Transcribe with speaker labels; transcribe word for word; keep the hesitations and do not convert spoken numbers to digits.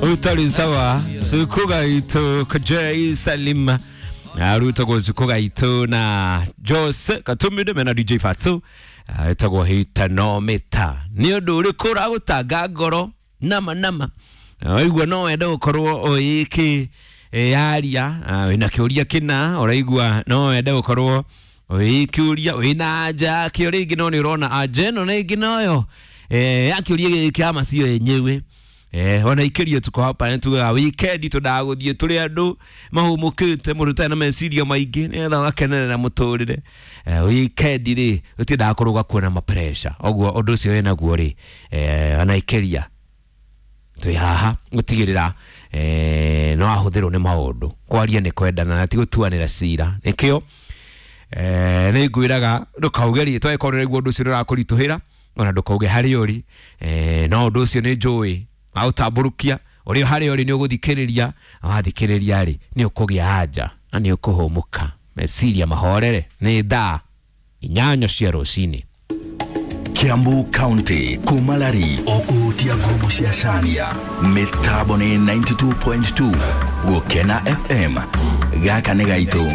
Speaker 1: Utari sawa Zukuga itu Kajei Salim Aruta Zukuga itu na Jose Katumbi mena D J Fatu etagwo hitanomita ni undu uriku uragutanga ngoro nama nama waigua no wende gukorwo uiki yaria wina kiuria kina uraigua no wende gukorwo uikiuria wina anja kiuria ingi no ni urona anja ino ni ingi noyo ya kiuria giki amacio yenyewe. Eh, wana ikirio tuko hapa ne tuga weekend tudaguthie turi andu mahumukite mundu na meciria maingi nigetha gakenerera muturire. Eh, weekend ri utindaga kuruga kuona ma pressure oguo undu ucio winaguo ri eh wana ikiria twi haha gutigirira eh no ahuthirwo ni maundu kwaria ni kwendana na ti gutuanira cira nikio eh ni ngwiraga ndukauge ritwa ikorwo riguo undu ucio urakurituhira ona ndukauge hari uri eh no undu ucio ni njui autamburukia uri hari uri ni uguthikiriria wathikiriria ri ni ukugia anja na ni ukuhumuka meciria mahorere ni thaa inyanya cia rucini.
Speaker 2: Kiambu County kumalari okuhutia ngumo cia Cania mitambo ni ninety-two point two Gukena F M gaka ni gaitu.